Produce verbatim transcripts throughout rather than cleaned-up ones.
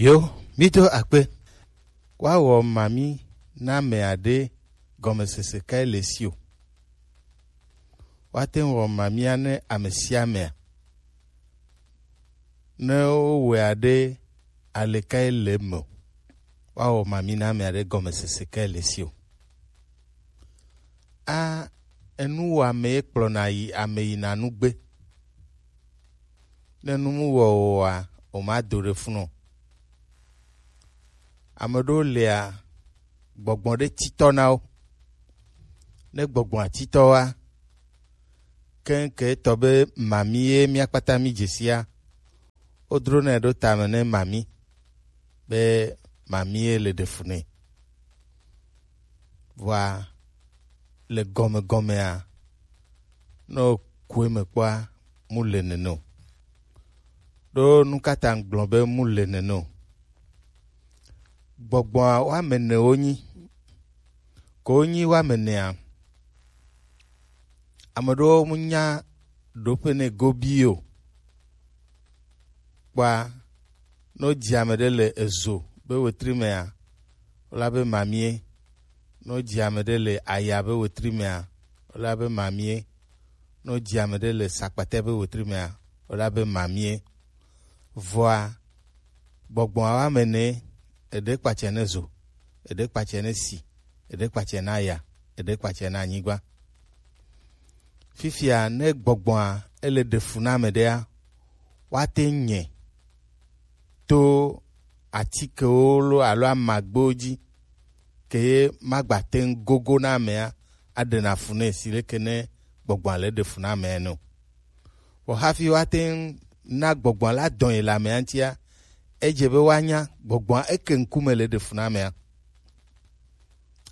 Yo, mi do akpe. Wa wɔ mami na ame aɖe gɔmesese kae le si o. Wa te ŋu wɔ mamia ne ame sia amea. Ne wowɔe aɖe ale kae le eme o. Wa wɔ mami na ame aɖe gɔmesese kae le si o. A, enu wɔ ame ye kplɔna yi ame yina nugbe. Ne nu mu wɔ oa, o ma do ɖe funu o. Ame ɖewo lia, gbɔgbɔ ɖe titɔ na wo. Ne gbɔgbɔa titɔ wa, keŋke etɔ be mami ye mía kpata mi dzesia, wodro nɛ ɖo tame ne mami, be mami ye le ɖe fu nɛ. Vɔa le gɔmegɔmea, ne ku eme kpɔa, mu le nene o. Ɖo nu ka ta ŋgblɔ be mu le nene o? Gbɔgbɔa woame ene wonyi. Ko wonyi woame enea, ame ɖewo mu nya ɖoƒe ne gobi o. Kpɔa, ne wodzi ame ɖe le ezo be wetri mea, wola be mamie. Ne wodzi ame ɖe le aya be wetri mea, wola be mamie. Ne wodzi ame ɖe le sakpate be wetri mea, wola be mamie. Vɔa, gbɔgbɔa woame ene, eɖe kpatsɛ ne zo, eɖe kpatsɛ ne si, eɖe kpatsɛ na aya, eɖe kpatsɛ na anyigba. Fifia ne gbɔgbɔa ele ɖe fu na ame ɖea, woate ŋu nyɛ to atikewo lo alo amagbewo dzi, ke ye magbate ŋu gogo na amea aɖena fu nɛ si leke ne gbɔgbɔa le ɖe fu na amea ene o. Vɔ hafi woate ŋu na gbɔgbɔa la dɔn yi le amea ŋutia, edze be woanya gbɔgbɔa eke ŋkume le ɖe fu na amea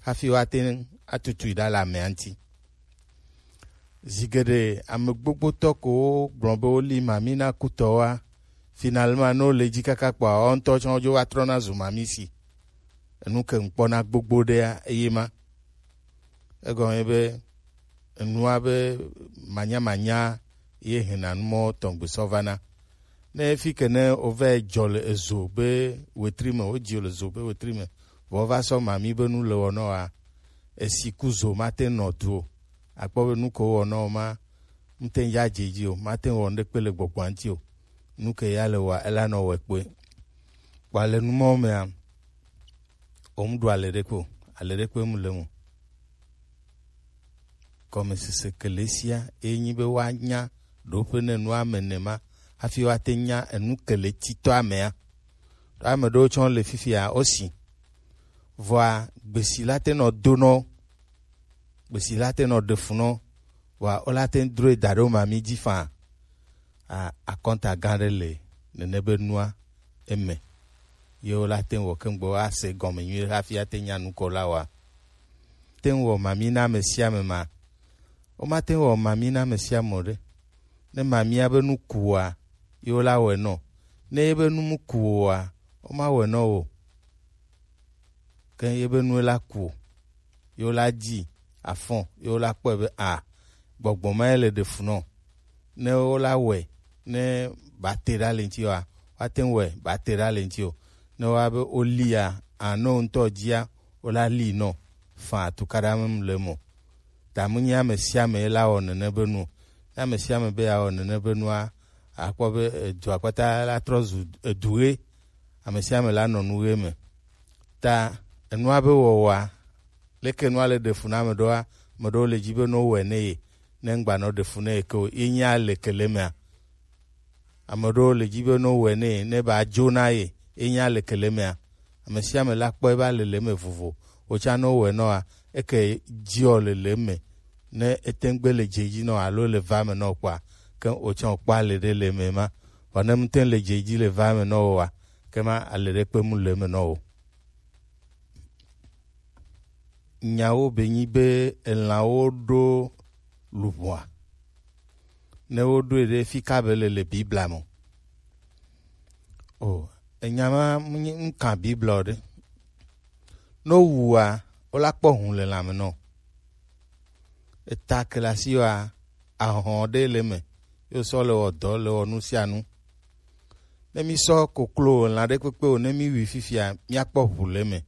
hafi woate ŋu atutu yi ɖa le amea ŋuti. Zi geɖe ame gbogbotɔ ko wogblɔ be woli mami na kutɔwoa, finalement ne wole dzi kaka kpɔa, wo ŋutɔ tsã wodzo va trɔna zu mami si. Enu ke ŋkpɔna gbogbo ɖea, eye ma. Egɔme be enua be manyamanya ye hena numɔ tɔgbe sɔ vana. Ne fi ke ne wova dzɔ le ezo be wetri me, wodzi le zo be wetri me, vɔ va sɔ mami be nu le wɔnɔ wa, esi ku zo mate nɔ du o. Akpɔ be nu ko wɔnɔ ma, mte ya dze dzi o, mate wɔ ŋɖe kpe le gbɔgbɔa ŋuti o. Nu ke ya le wa, ela nɔ wɔ kpe. Kpa le numɔ mea, o mu ɖu ale ɖe kpe o, ale ɖe kpe mu le mu. Gɔmesese kele sia ye nyi be woanya ɖoƒe ne nua me nema hafi woate nya enu kele titɔ amea. Ɖo ame ɖewo tsɔ le fifia wosi. Vɔa gbesi la te nɔ do nɔ, gbesi la te nɔ ɖe fu nɔ, vɔa wola te ŋu droe da ɖo mami dzi faa. A, akɔnta gã ɖe le nene be nua eme. Ye wola te ŋu wɔ keŋ gbɔ ase gɔme nyuie hafi ate nya nu ko la wa. Te ŋu wɔ mami na ame sia ame ma. Womate ŋu wɔ mami na ame sia ame o ɖe. Ne mamia be nu ku oa, ye wola wɔe nɔ. Ne ye be nu mu ku oa, woma wɔe nɔ o. Ke ye be nu la ku o, ye wola dzi afɔ, ye wola kpɔe be a, gbɔgbɔ ma ye le ɖe fu nɔ. Ne wola wɔe, ne ba te ɖa le ŋuti wa, woate ŋu wɔe ba te ɖa le ŋuti o. Ne woa be wolia, a, ne wo ŋutɔ dzia, wola li nɔ. Fa tukaɖa me le mo. Ta mu nyi ame sia ame la wɔ nene be nu o. Ne ame sia ame be ya wɔ nene be nua, akpɔ be edua kpata la trɔ zu edu ɣe. Ame sia ame la nɔ nu ɣe me. Ta enua be wɔwɔa, leke nua le ɖe fu na ame ɖewoa, ame ɖewo le dzi be ne wowɔe ne ye, ne ŋgba nɔ ɖe fu ne ye ke o, ye nya le ke le mea. Ame ɖewo le dzi be ne wowɔe ne ye, ne ba dzo na ye, ye nya le ke le mea. Ame sia ame la kpɔ ebe alele me vovo. Wotsã ne wowɔe nɔa, eke dziɔ le le me. Ne ete ŋu gbe le dze dzi nɔ alo le va me nɔ kpɔa, ke wotsã wokpɔ ale ɖe le me ma. Vɔ ne mete ŋu le dze dzi le va me nɔ o wa, ke ma ale ɖe kpe mu le me nɔ o. Nyawo be nyi be elãwo ɖo luʋɔa. Ne woɖoe ɖe fi ka be le le Biblia me. O, enya ma mu nyi ŋkan Biblia o ɖe. Ne wowua, wola kpɔ hu le lãme nɔ. Eta ke le asi wa, ahɔn ɖe le me. Yo sɔ le wɔ dɔ, le wɔ nu sia nu. Ne mi sɔ koklo lan ɖe kpekpe o, ne mi wi fifia, mi akpɔ ʋu le me.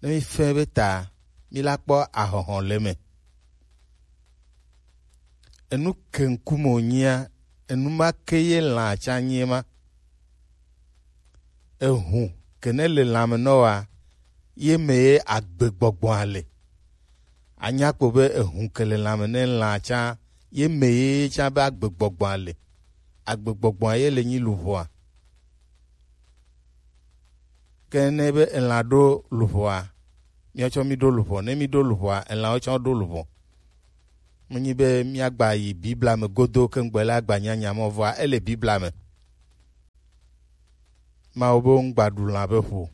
Ne mi fɛ be ta, mi la kpɔ ahɔhɔ le me. Enu ke ŋkume wònyia, enu ma ke ye lã atsa nyie ma. Ehun ke ne le lãme nɔ wa, ye me ye agbegbɔgbɔa le. Anya kpo be ehun ke le lãme ne lã tsã, ye me ye tsã be agbegbɔgbɔa le. Agbegbɔgbɔa ye le nyi luʋɔa. Ke ne be elã ɖo luʋɔa, miawo tsɔ mi ɖo luʋɔ. Ne mi ɖo luʋɔa, elãwo tsɔ ɖo luʋɔ. Menyi be míagba yi Biblia me godo ke ŋgbe la agba nyanya mɔ vɔa ele Biblia me. Mawu be ŋgba ɖu lã be ʋu,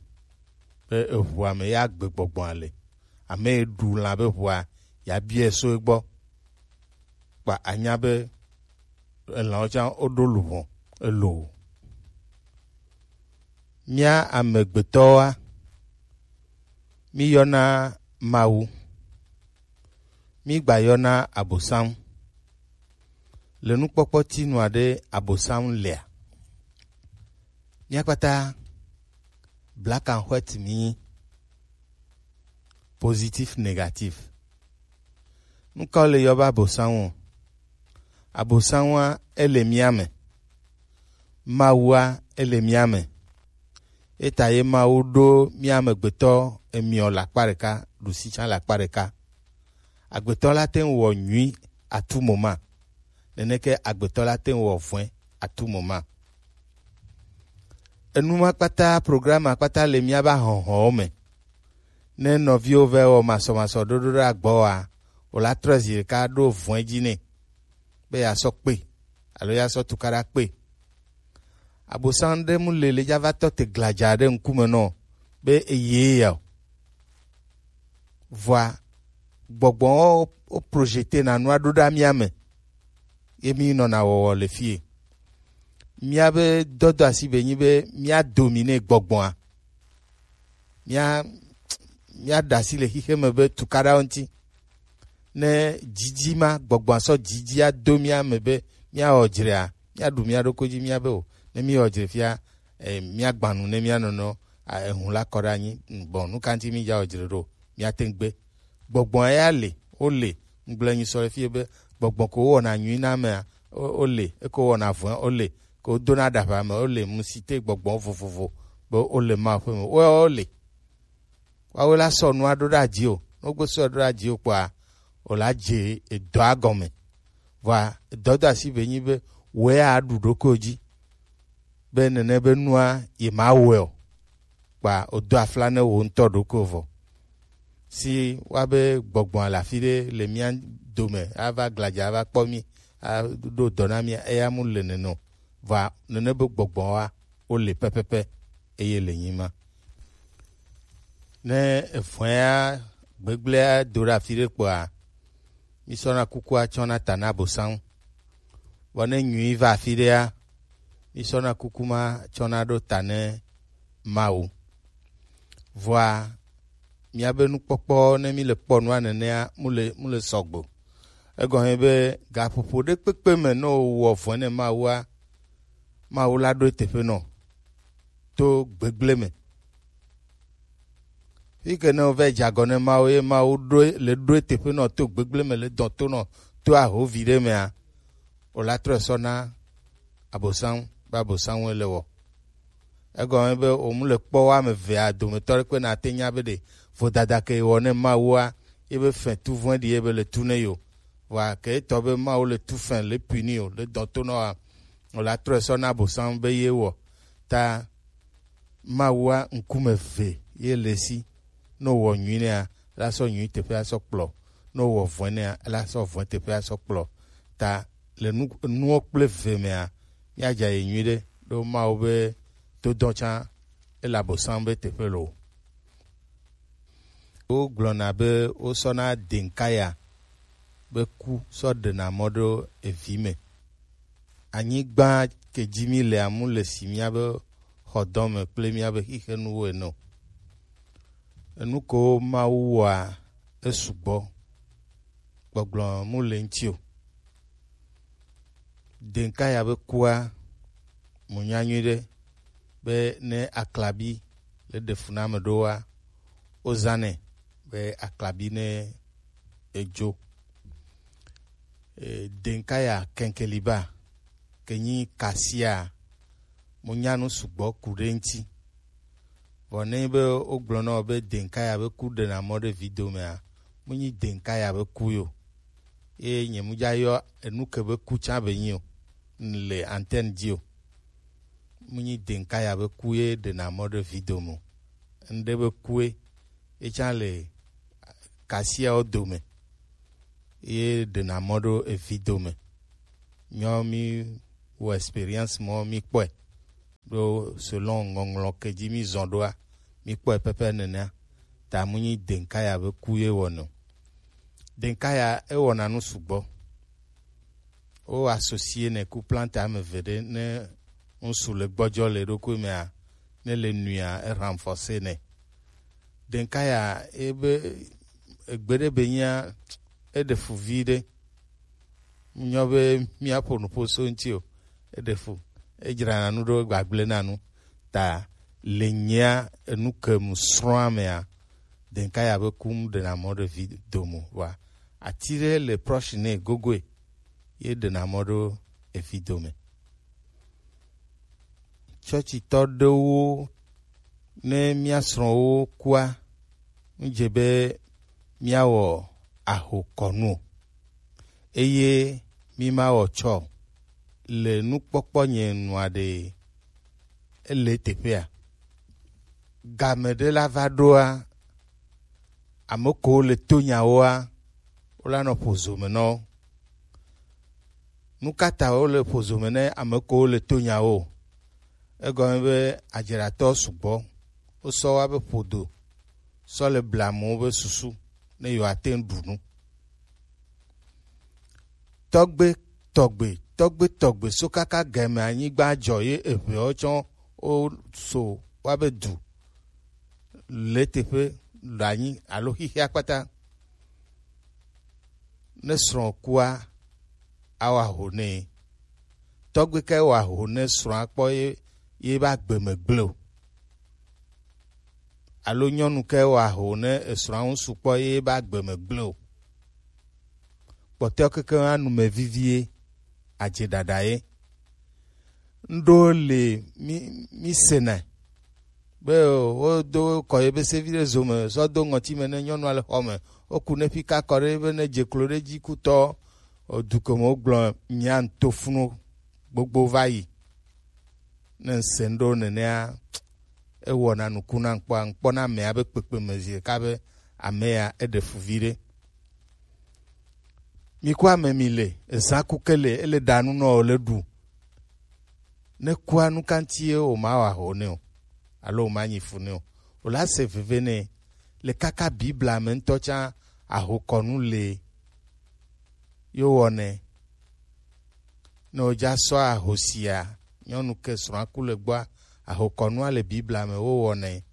be eʋua me ya agbegbɔgbɔa le. Ame yi ɖu lã be ʋua, ya biɛ so egbɔ. Kpa anya be elãwo tsã woɖo luʋɔ elo. Mía amegbetɔwoa, míyɔna Mawu, mígbayɔna Abosam. Le nukpɔkpɔ tinua ɖe Abosam lea? Mía kpata black and white mi, positif, negatif. Nu ka wole yɔ be Abosam o? Abosam wa ele mía me. Mawu wa ele mía me. Eta ye Mawu ɖo mía amegbetɔ emiɔ le akpa ɖeka, ɖusi tsã le akpa ɖeka. Agbetɔ la te ŋu wɔ nyui atu mo ma. Neneke agbetɔ la te ŋu wɔ vɔ̃e atu mo ma. Enu ma kpata, programme ma kpata le míabe ahɔhɔwo me. Ne nɔviwo va wɔ masɔmasɔ ɖoɖo ɖe agbɔ wa, wòla trɔ zi ɖeka ɖo vɔ̃e dzi nɛ be yeasɔ kpe alo yeasɔ tukaɖa kpe. Abosam ɖe mu le le dza va tɔ te gladza ɖe ŋkume nɔ be eye ya o. Vɔa gbɔgbɔwo wo projeter na nua ɖo ɖa mía me. Ye mi nɔna wɔwɔ le fie. Míabe dɔdɔ asi be nyi be mía dominer gbɔgbɔa. Mía mía ɖe asi le xixe me be tukaɖawo ŋuti. Ne dzidzi ma gbɔgbɔa sɔ dzidzi ado mía me be míawɔ dzrea, míaɖu mía ɖokui dzi mía be o. Ne míwɔ dzre fia, eh, míagbã nu ne mía nɔnɔ, a, ehun la kɔ ɖe anyi. Bon, nu ka ŋuti mídza wɔ dzre ɖo? Míate ŋu gbe. Gbɔgbɔ ya le, wo le. Ŋgblẽ nyi sɔ le fie be gbɔgbɔ ko wɔna nyui na amea, wo, wo le. Eko wɔna vɔ̃, wo le. Ko dona ɖaʋa me, wo le. Musite gbɔgbɔ vovovo be wo le Mawu ƒe me. Wo, wo le. Woawoe la sɔ nua ɖo ɖe adzi o. Ne wogbe sɔ ɖo ɖe adzi o kpɔa, wòla dze edɔa gɔme. Vɔa edɔdɔ asi be nyi be wòe aɖu ɖokuiwò dzi be nene be nua yemawɔe o. Kpa wòdo afla ne wò ŋutɔ ɖokuiwò vɔ. Si woabe gbɔgbɔa le afi ɖe le mía dome ava gladza ava kpɔ mí, aɖo dɔ na mía, eya mu le nene o. Vɔa nene be gbɔgbɔa wo le pɛpɛpɛ eye le nyi ma. Ne evɔ̃ea gbegblẽa do ɖe afi ɖe kpɔa, mísɔna kukua tsɔna ta na Abosam. Vɔ ne nyui va afi ɖea, mísɔna kuku ma tsɔna ɖo ta ne Mawu. Vɔa míabe nukpɔkpɔ ne míle kpɔ nua nenea mu le, mu le sɔgbe o. Egɔme be gaƒoƒo ɖe kpekpe me ne wowɔ vɔ̃e ne Mawua, Mawu la ɖo eteƒe nɔ to gbegblẽ me. Fi ke ne wova dze agɔ ne Mawu ye Mawu ɖo, le ɖo eteƒe nɔ to gbegblẽ me le dɔn to nɔ to ahovi ɖe mea, wòla trɔe sɔ na Abosam be Abosam le wɔ. Egɔme be wòmu le kpɔ wo ame evea dometɔ ɖe kpe nate nya be ɖe vodada ke wɔ ne Mawua ye be fɛ tu vɔ̃ɖi ye be le tu ne yo. Vɔa ke etɔ be Mawu le tu fɛ le puni o le dɔn to nɔ wa, wòla trɔe sɔ na Abosam be ye wɔ. Ta Mawua ŋkume eve ye le si. Ne wòwɔ nyui nɛa, ela sɔ nyui teƒe asɔ kplɔ. Ne wòwɔ vɔ̃e nɛa, ela sɔ vɔ̃e teƒe asɔ kplɔ. Ta le nu, nuwo kple eve mea, míadza yi nyui ɖe ɖo Mawu be dodɔ tsã ele Abosam be teƒe lo. Wogblɔna be wosɔna denkaya be ku sɔ ɖena mɔ ɖo evi me. Anyigba ke dzi mí le amu le si míabe xɔdɔme kple míabe xixenuwo ene o. Enu ko Mawu wɔa, esugbɔ. Gbɔgblɔ mu le ŋuti o. Denkaya be kua, mu nya nyui ɖe. be ne aklabi le ɖe fu na ame ɖowoa, wozãnɛ be aklabi ne edzo. E, denkaya kenkeliba ke nyi kasia, mo nya nu sugbɔ ku ɖe ŋuti. Vɔ ne be wogblɔ na wò be denkaya be ku ɖena mɔ ɖe vi domea, mo nyi denkaya be ku yo. Ye nye mu dza yɔ enu ke be ku tsã be nyi o, le antenne dzi o. Mu nyi denkaya be ku ye ɖena mɔ ɖe vi dome o. Ŋɖe be kue ye tsã le kasiawo dome ye ɖena mɔ ɖo evi dome. Nyɔ mi wɔ experience mɔ mi kpɔe ɖo selon ŋɔŋlɔ ke dzi mi zɔn ɖoa, mi kpɔe pɛpɛ nenea. Ta mu nyi denkaya be ku ye wɔnɛ o. Denkaya ewɔna nu sugbɔ. Wo associer nɛ ku plante ame eve ɖe ne ŋsu le gbɔdzɔ le eɖokui mea, ne le nuia e renforcer nɛ. Denkaya ebe egbe ɖe be nyia eɖe fu vi ɖe. Nyɔ be míaƒo nuƒo so ŋuti o. Eɖe fu. Edzrana nu ɖo gbagble na nu. Ta le nyia enu ke mu srɔ̃a mea, denkaya be kum ɖena mɔ ɖe vi domo wa. Ati ɖe le proche ne gogoe ye ɖena mɔ ɖo evi dome. Tsɔtsitɔ ɖewo ne mía srɔ̃wo kua, nu dze be míawɔ ahokɔnu o, eye mímawɔ tsɔ o. Le nukpɔkpɔ nye nua ɖe ele teƒea? Game ɖe la va ɖoa, ame kewo le to nyawoa, wola nɔ ƒo zome nɔ wo. Nu ka ta wole ƒo zome ne ame kewo le to nyawo? Egɔme be adzeɖatɔ sugbɔ, wosɔ wa be ƒodo sɔ le blamuwo be susu ne yewoate ŋu ɖu nu. Tɔgbe tɔgbe tɔgbe tɔgbe so kaka game anyigba dzɔ ye eʋewo tsɔ wo so wa be du le teƒe le anyi alo xixia kpata. Ne srɔ̃ kua, awɔ aho nɛ. Tɔgbe kae wɔ aho ne srɔ̃a kpɔ ye ye be agbe me gble o? Alo nyɔnu kae wɔ aho ne esrɔ̃a ŋsu kpɔ ye be agbe me gble o? Kpɔtɔewo kekeŋ anu me vivie, adze ɖaɖa ye. Ŋɖo le mi mi sena be wodo kɔ ye be sevi ɖe zo me sɔ do ŋɔti me ne nyɔnua le xɔ me. Woku ne ƒika kɔ ɖe be ne dze klo ɖe dzi kutɔ o, du ke me wogblɔ nya ŋtofunu gbogbo va yi. Ne ŋse ŋɖo nenea, ewɔna nuku na ŋkpɔa, ŋkpɔna amea be kpekpe me zi ɖeka be amea eɖe fu viɖe. Mi ku ame mi le, ezã ku ke le, ele ɖa nu nɔ o le ɖu. Ne kua nu ka ŋuti ye wòmawɔ aho nɛ o, alo wòmanyi fu nɛ o, wòla se veve nɛ. Le kaka Biblia me ŋutɔ tsã ahokɔnu le ye wowɔnɛ. Ne wodza sɔ ahosia, nyɔnu ke srɔ̃a ku le gbɔa, ahokɔnua le Biblia me wowɔnɛ.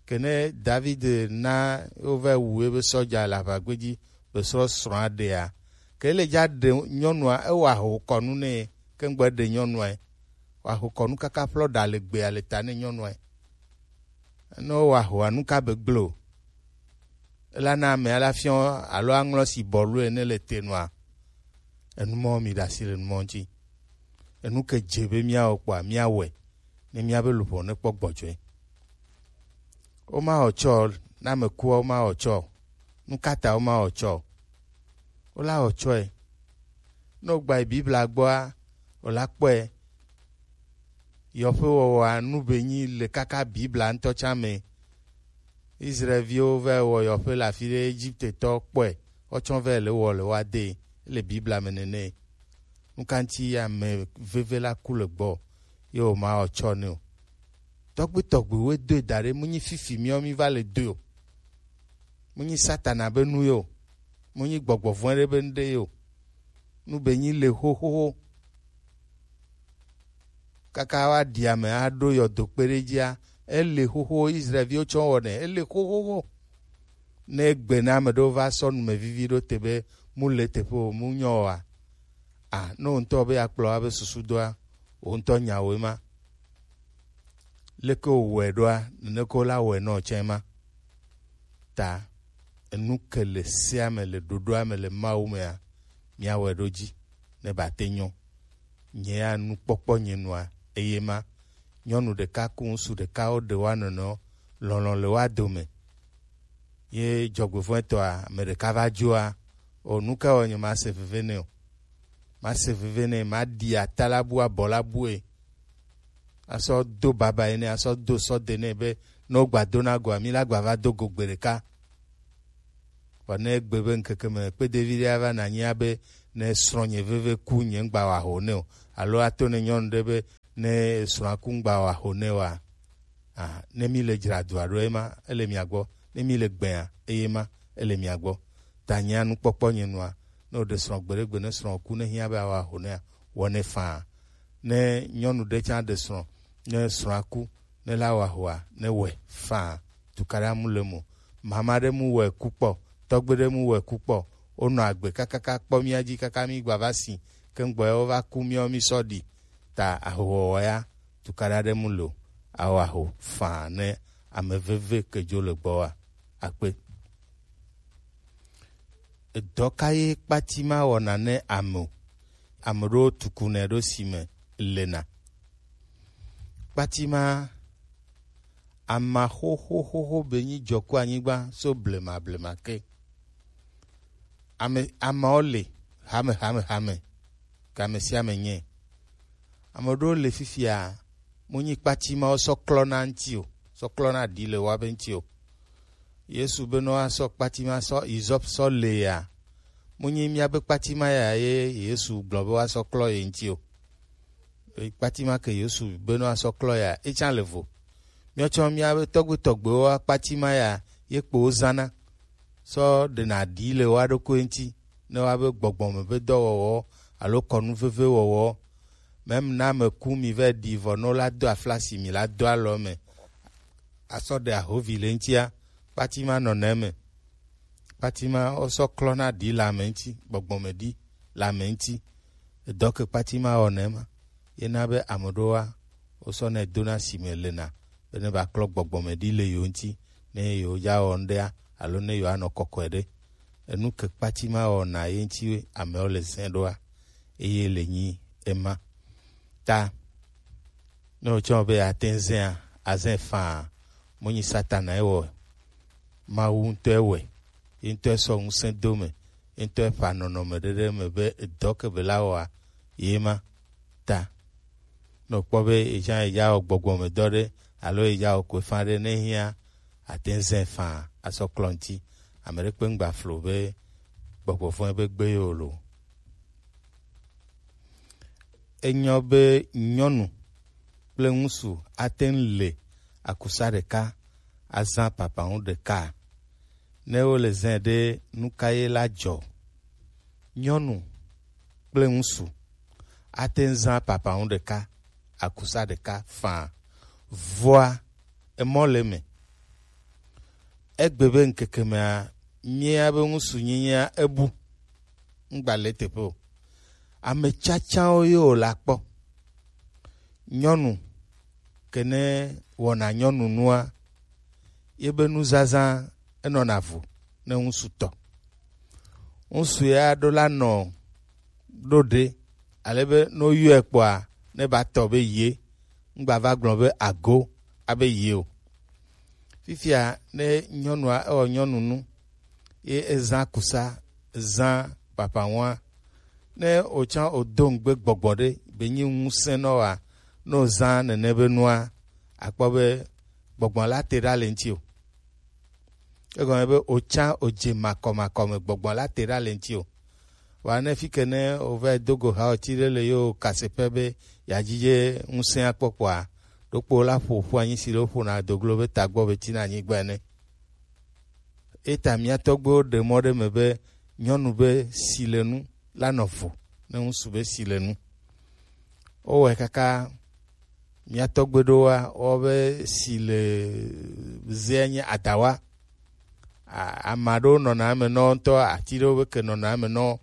Ke ne David na wova wu ebe sɔdza le aʋagbe dzi be srɔ̃ srɔ̃a ɖea, ke le dza ɖe nyɔnua, ewɔ ahokɔnu nɛ, ke ŋgbe ɖe nyɔnua, wɔ ahokɔnu kaka ƒlɔ ɖa le gbea le ta ne nyɔnua. Ne wowɔ ahoa, nu ka be gblẽ o? Ela na ame ala fiɔ alo aŋlɔ si bɔlu ene le te nɔa? Enu mɔ mi ɖe asi le nu mɔ ŋuti. Enu ke dze be míawɔ kpɔa, míawɔe ne míabe luʋɔ nekpɔ gbɔdzɔe. Womawɔ tsɔ, ne ame kua, womawɔ tsɔ. Nu ka ta womawɔ tsɔ? Wola wɔ tsɔe. Ne wogba yi Biblia gbɔa, wola kpɔe. Yɔƒewɔwɔa nu be nyi le kaka Biblia ŋutɔ tsã me. Israelviwo va wɔ yɔƒe le afi ɖe, Egiptetɔ kpɔe, wotsɔ va le wɔ le woa de le Biblia me nene. Nu ka ŋuti ame veve la ku le gbɔ ye wòmawɔ tsɔ nɛ o? Tɔgbi tɔgbiwoe doe da ɖe, mu nyi fifi miɔ mi va le doe o. Mu nyi Satana be nu ye o. Mu nyi gbɔgbɔ vɔ̃ ɖe be nu ɖe ye o. Nu be nyi le xoxoxo. Kaka woaɖi ame aɖo yɔdo kpe ɖe edzia, ele xoxo Israelviwo tsɔ wɔnɛ, ele xoxoxo. Ne egbe na ame ɖewo va sɔ numevivi ɖo te be mu le teƒe o, mu nyɔ oa? A, ne wò ŋutɔ be akplɔ woabe susu doa, wò ŋutɔ nyawoe ma. Leke wowɔe ɖoa, neneke wola wɔe nɔ tsɛ ma. Ta enu ke le sea me, le ɖoɖoa me le Mawu mea, míawɔe ɖo dzi ne ba te nyɔ. Nye ya nukpɔkpɔ nye nua, eye ma, nyɔnu ɖeka ku ŋutsu ɖeka, woɖe woa nɔnɔewo, lɔlɔ̃ le woa dome. Ye dzɔgbevɔ̃etɔa, ame ɖeka va dzoa, o, nu ka wɔ nye mase veve nɛ o. Mase veve nɛ, maɖi ata la bu, abɔ la bue. Asɔ do baba ene, asɔ do sɔ de nɛ be, ne wogba do na goa, mi la gba va do go gbe ɖeka. Vɔ ne egbe be ŋkeke me kpedevi ɖe ava na nyia be, ne srɔ̃nye veve ku, nye ŋgba wa ho nɛ o. Alo ato ne nyɔnu ɖe be, ne srɔ̃a ku, ŋgba wa ho nɛ oa, ah, ne mi le dzra dua ɖo, ema ele mia gbɔ. Ne mi le gbea, eye ma ele mia gbɔ. Ta nyia nukpɔkpɔ nye nua, ne woɖe srɔ̃ gbeɖegbe, ne srɔ̃ ku, ne hiã be awa ho nɛa, wɔ nɛ faa. Ne nyɔnu ɖe tsã ɖe srɔ̃, ne srɔ̃a ku, ne la wa hoa, ne wɔe faa. Tukaɖa mu le mo. Mama ɖe mu wɔe ku kpɔ, tɔgbe ɖe mu wɔe ku kpɔ. Wonɔ agbe kakaka kpɔ mía dzi kaka mí gba va si, ke ŋgbɔ ya wova ku míawo mí sɔ ɖi. Ta ahowɔwɔ ya, tukaɖa ɖe mu lo, awɔ aho faa ne ame veve ke dzo le gbɔ wa. Akpe. Edɔ ka ye kpati ma wɔna ne ame o? Ame ɖewo tukunɛ ɖo si me lena. Kpati ma, ama xoxoxoxo be nyi dzɔ ku anyigba so blema blema ke. Ame, amewo le hame, hame, hame, ke ame sia ame nye. Ame ɖewo le fifia, mu nyi kpati mawo sɔ klɔna ŋti o, sɔ klɔna ɖi le woabe ŋti o. Yesu be ne woasɔ kpati ma sɔ, izɔp sɔ le ya, mu nyi míabe kpati ma ya ye Yesu gblɔ be woasɔ klɔ ye ŋti o. Kpati ma ke Yesu be ne woasɔ klɔ ya, etsã le vo. Míawo tsã míabe tɔgbe tɔgbewo kpati ma ya ye kpo wozãna sɔ ɖena ɖi le woa ɖokui ŋti, ne woabe gbɔgbɔ me be dɔwɔwɔ alo kɔnu veve wɔwɔ. Mɛm ne ame ku mi vɛ ɖi vɔ ne wola do aflasi mi la do alɔ me asɔ ɖe ahovi le ŋtia, kpati ma nɔna eme. Kpati ma wosɔ klɔna ɖi le ame ŋti, gbɔgbɔ me ɖi le ame ŋti. Edɔ ke kpati ma wɔna ema. Ye na be ame ɖewoa, wosɔ nɛ dona si me lena, be ne va klɔ gbɔgbɔ me ɖi le yewo ŋti, ne yewo dza wɔ ŋɖea, alo ne yewoanɔ kɔkɔe ɖe. Enu ke kpati ma wɔna ye ŋti amewo le zɛ ɖoa, eye le nyi ema. Ta, ne wotsɔ be ate ŋu zɛa, azɛ faa, mo nyi Satana ewɔ, Mawu ŋutɔ ewɔe, ye ŋutɔ esɔ ŋusẽ do me, ye ŋutɔ eƒa nɔnɔme ɖe ɖe me be edɔ ke be la wɔa, ye ma. Ta ne wòkpɔ be yetsã yedza wɔ gbɔgbɔmedɔ ɖe alo yedza wɔ koefã ɖe, ne hiã, ate ŋu zãe faa asɔ klɔ ŋuti. Ame ɖe kpe ŋgba flo be gbɔgbɔ vɔ̃e be gbe yewo lo. Enyɔ be nyɔnu kple ŋutsu ate ŋu le akusa ɖeka azã papaŋu ɖeka. Ne wole zã ɖe, nu ka ye la dzɔ? Nyɔnu kple ŋutsu ate ŋu zã papaŋu ɖeka, akusa ɖeka faa. Vɔa, emɔ le eme. Egbe be ŋkeke mea, mía be ŋutsunyenyea ebu. Ŋgba le teƒe o. Ame tsatsawo ye wòle akpɔ. Nyɔnu ke ne wɔna nyɔnu nua, ye be nuzazã enɔna vo ne ŋutsu tɔ. Ŋutsu ya ɖo la nɔ ɖo ɖe, ale be ne woyɔe kpɔa, ne ba tɔ be ye, ŋgba va gblɔ be ago abe ye o. Fifia ne nyɔnua ewɔ nyɔnu nu, ye ezã kusa, ezã papaŋua, ne wòtsã wòdo ŋugbe gbɔgbɔ ɖe, be nyi ŋusẽ nɔ wa, ne wòzã nene be nua, akpɔ be gbɔgbɔ la te ɖa le ŋuti o. Egɔme be wòtsã wòdze makɔmakɔ me, gbɔgbɔ la te ɖa le ŋuti o. Wa ne fike ne wòva do go ha ɔti ɖe le yo kase ƒe be yeadzidze ŋusẽa kpɔkpɔa, ɖokpo la ƒo ƒu anyi si le woƒona doglo be tagbɔ be tina anyigba ene. Eta mía tɔgbuiwo ɖe mɔ ɖe me be nyɔnu be silenu la nɔ vo ne ŋutsu be silenu. Wowɔe kaka mía tɔgbe ɖowoa, wobe si le zea nye adawa. A-, ame aɖewo nɔna eme nɔ ŋutɔ, ati ɖewo be ke nɔna eme nɔ,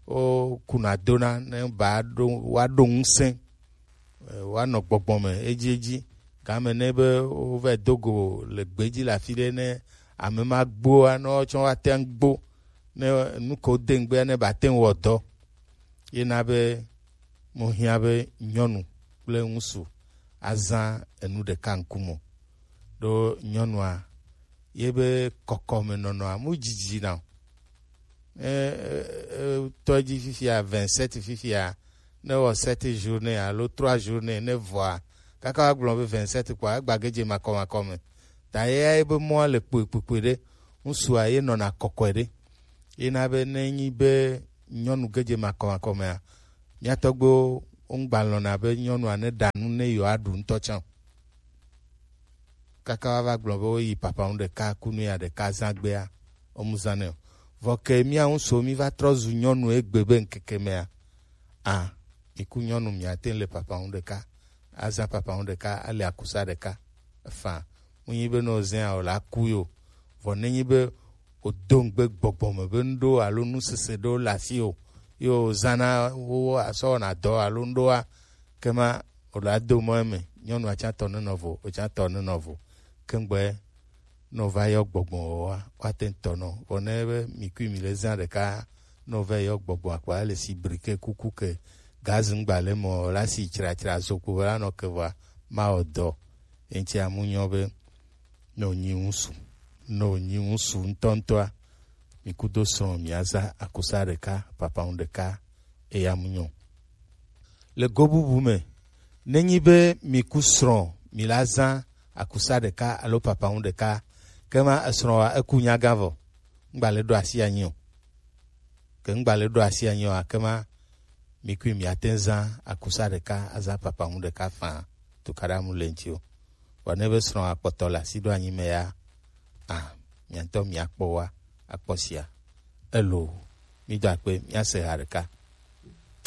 wokuna dona ne ba ɖo, woaɖo ŋusẽ, e, woanɔ gbɔgbɔ me edziedzi, Game ne be wova do go le gbeji le afi ɖe ne ame ma gboa, ne woatsɔ woate ŋu gbo, ne nu ke wode ŋugbea ne bate ŋu wɔ dɔ. Ye na be mo hiã be nyɔnu kple ŋutsu azã enu ɖeka ŋkume o. Ɖo nyɔnua, ye be kɔkɔme nɔnɔa, mu dzidzi na o. E, e, e, tɔ dzi fifia, vingt-sept fifia, ne wɔ sept journée alo trois journée, ne vɔa, kaka wa gblɔ be vingt-sept kpɔa, egba gedze makɔmakɔ me. Ta ye, ye be mɔa le kpokpokpoi ɖe, ŋutsua ye nɔna kɔkɔe ɖe. Ye na be ne nyi be nyɔnu gedze makɔmakɔ mea, mía tɔgbewo wo ŋgba lɔ̃na be nyɔnua ne ɖa nu ne yewoaɖu ŋutɔ tsã o. Kaka woava gblɔ be woyi papa ŋu ɖeka, ku nu ya ɖeka zã gbea, womu zã nɛ o. Vɔ ke mía ŋutsuwo, mí va trɔ zu nyɔnu egbe be ŋkeke mea, a, mi ku nyɔnu miate ŋu le papa ŋu ɖeka, azã papa ŋu ɖeka, ale akusa ɖeka. Efã, mu nyi be ne wozẽa o la ku yo. Vɔ ne nyi be wodo ŋugbe gbɔgbɔ me be nuɖewo alo nusese ɖewo le asi o, ye wozãna wo asɔ wɔna dɔ alo nuɖewoa, kema wòle ado mɔ eme, nyɔnua tsã tɔ nenɔ vo, wò tsã tɔ nenɔ vo. Kengbe ne wova yɔ gbɔgbɔ wɔwɔa, woate ŋu tɔ nɔ. Vɔ ne be mi kui mi le zã ɖeka, ne wova yɔ gbɔgbɔ akpa ele si brike kuku ke gazi ŋgba le mɔ la si tsratsra zokpo la nɔ ke vɔa, mawɔ dɔ. Eŋuti amu nyɔ be ne wònyi ŋusu, ne wònyi ŋusu ŋutɔŋutɔa, mi kudo srɔ̃ miaza akusa ɖeka, papa ŋu ɖeka, eya mu nyɔ. Le go bubu me, nenyi be mi ku srɔ̃ mi la zã akusa ɖeka alo papa ŋu ɖeka, kema esrɔ̃ wa eku nyaga vɔ, ŋgba le ɖo asi anyi o. Ke ŋgba le ɖo asi anyi o, akema mi kui miate ŋu zã akusa ɖeka azã papa ŋu ɖeka faa, tukaɖa mu le ŋuti o. Vɔ ne be srɔ̃ akpɔtɔ le asi ɖo anyi me ya, a, miatɔ miakpɔ wa akpɔ sia. Elo, mi do akpe, miase ha ɖeka.